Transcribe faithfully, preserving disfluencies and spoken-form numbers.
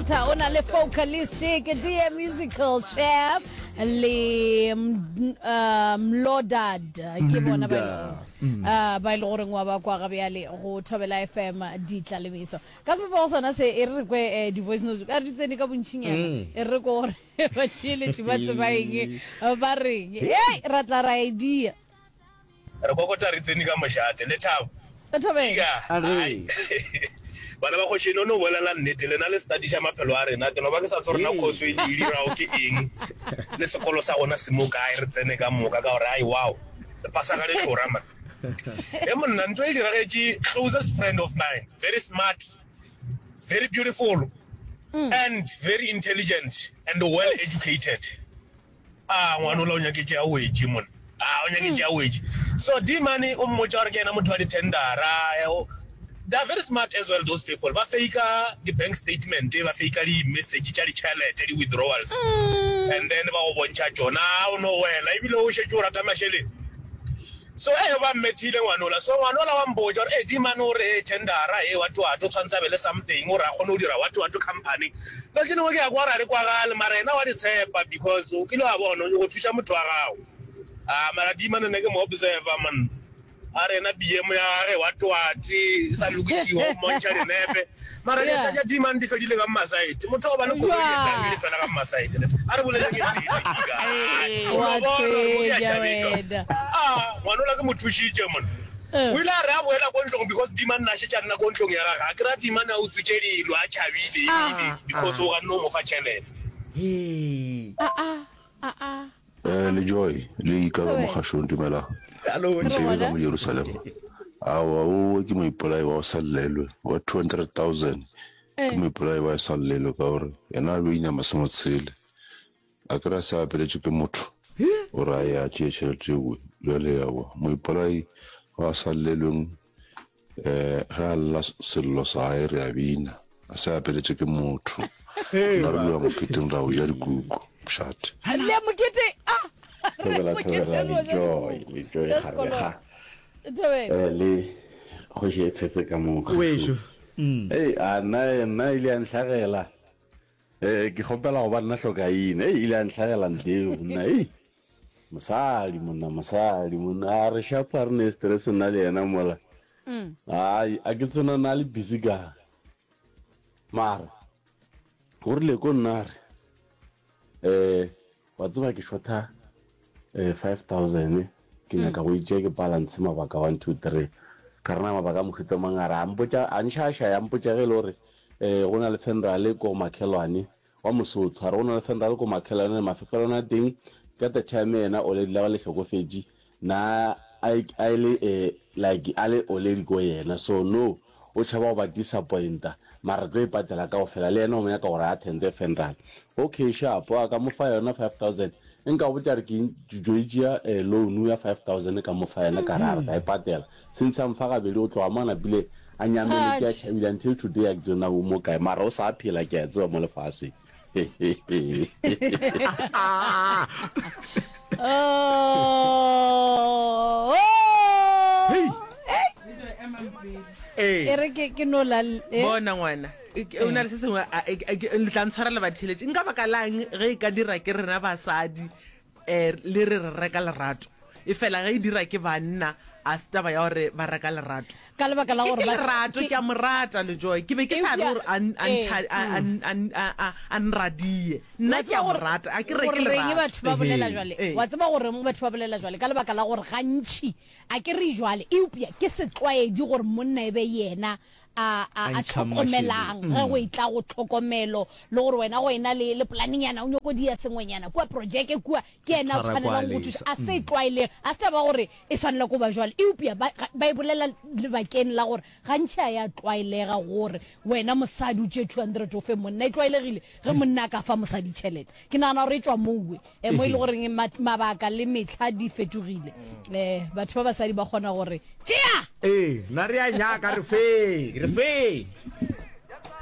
Delta o na le Focalistic, D M Musical Chef le mm, uh, Mlodad ke bona ba e leng- uh, ba e le goreng wa ba kwa ga bjale go Thobela F M ditla le meso ka sebopego sona se. E re re kwe eh, di-voice notes ka re di tsene ka bontšinyana, e re re kwe gore batheeletši ba tseba eng, ba reng. Ei, ra tla ra e dia. Re kokota re tsene ka mošate lethabo. Thobela. Ka A re. Bana ba kgoši, no no bolela nnete, lena le studiša maphelo a rena. Ke no ba ke sa tsore na khoso e le e dirago ke eng, le sekolo sa gona se mo kae. Re tsene ka moka ka gore ai, wow, re phasa ka letlora man. E monna, ntho e diragetše closest friend of mine, very smart, very beautiful and very intelligent and well educated. A ngwanola o nyaketše a wetše monna, a o nyaketše a wetše. So Demane o mmotša gore ke yena motho wa di-tendera. They are very smart as well, those people. Ba fakea di-bank statement, ba fakea di-message tša ditšhelete, di-withdrawals, and then ba go bontšha tšona. O no wela ebile o šetše o rata mašeleng. So e ba mmethile ngwanola. So ngwanola wa mpotša gore e Demane o re e tendera e what what, o tshwanetse a be le something o re a kgone go dira what what company. Lo tše dingwe ke ya kwa gore a di kwagale, mara yena wa di tshepa because o kile wa bona o nyako thuša motho wa gago. A mara Demane ne ke mo observer man, a re yena B M ya gage what what e sa lokišiwa, o mmontšha dinepe, mara dieta tša Demane di fedile ka mmasaete. Motho wa ba le koloi etang di fela ka mmasaete. A re bolele ke nnete. O Wa no bona gore mo ke a tshwenya tšhabetšwa. wena. A ngwanola ke mo thušitše monna. O ile a re a boela ko ntlong, because Demane na šetše a nna ko ntlong ya gage, a kry-a Demane a utswitše dilo, a tšhabile ebile because o ganne o mo fa tšhelete. A a a. Eh, le Joy, le Ikaba. Thobela. Mogašong, dumelang. Hallo. Re Ntebe ka gona. mo Jerusalema. Aowa, owe ke moipolai wa go sa llelwe wa two hundred thousand. Ke Eh. moipolai wa sa llelwe ka gore yena a lo inama se mo tshele. A kry a se apeletše ke motho o re a ye a tšee tšhelete ewe. Jwale aowa, moipolai wa sa llelweng, um ge a lla sello sa gae re a bina, a se apeletše ke motho. Nna re loya moketeng, ra o ja dikuku mošate. Le mokete a re Thobela. Mokete Thobela. re o ja Le Joy, dikuku le Joy. tša Gare sekolo. ga Thobela. eh le kgoši e tshetse ka mo Wešo. kgašong. Ei, a nna nna ile ya ntlhagela. Eh ke kgopela go ba nna hlokaine. Ei, ile ya ntlhagela nteo nna. Ei, mosadi monna, mosadi monna, a re shapa re ne stress nna le yena mola. Ai, a ke tsena na le busy ka mara o rile ko nna re eh wa tseba ke shota eh five thousand, ke nyaka go itšea ke balance mabaka one two three. Ka rena mabaka a mohuta mang? A re a mpotša, a nšaša ya mpotša ge e le gore eh go na le funeral ko makhelwane wa Mosotho. A re go na le funeral ko makhelwane, mafekelwane a teng ka the time yena already la ba le hlokofetše na a a le eh like a le already ko yena. So no o tšhaba go ba disappointa, mara tlo e patela kaofela, le yena o mo nyaka gore a attende funeral. Okay, sharp, a ka mo fa yona five thousand. Nka botša re ke jo itšea eh, loan ya five thousand ka mo fa yena, ka re a re tla e patela. Since a mfa gabedi, o tloga mo a napile a nyameletše, a Touch. tšhabile. Until today a ke tsena o mo kae, mara o sa phela, ke a tseba mo lefaseng. Oh. Hey. E Ee. re ke ke no la eh? Bona ngwana, e- ke- o na le se sengwe a- e- e- ke- le tla ntshwarela batheletše. Nka baka lang ge e ka dira ke rena basadi, um le re re reka lerato, e fela ge e dira ke banna a se taba ya gore ba reka lerato? Ka lebaka la Ke gore ke ba lerato. Ke ke a mo rata le Joy, ke be ke sa re Eupša gore a n- a eh ntha- a- a- a- a- a- a nradie. Wa Nna ke tseba a mo gore rata, a ke reke gore reng lerato. batho ba bolela jwale. Ee. Wa tseba gore batho ba bolela jwale ka lebaka la gore gantši a ke re jwale, eupša ke setlwaedi gore monna e be yena a a A a ntšhang tlhokomelang mašeleng. ge go e tla go tlhokomelo, le gore wena go ena le le planenyana o nyako dia sengwenyana kua projeke kua, ke yena a Tshwara kwa tshwanelang go lesa. thuša. A se tlwaelege, a se taba gore e swanela ko ba jwale, eupša ba ba e bolela lebakeng la gore gantši a ya tlwaelega gore wena mosadi o tšee two hundred o fe monna. E tlwaelegile ge monna a ka fa mosadi tšhelete. Ke nagana gore e tšwa mowe e mo e le goreng ma- mabaka le metlha di fetogile, um batho ba basadi ba kgona gore tšea. Ee, nna re a nyaka, re fe, re fe.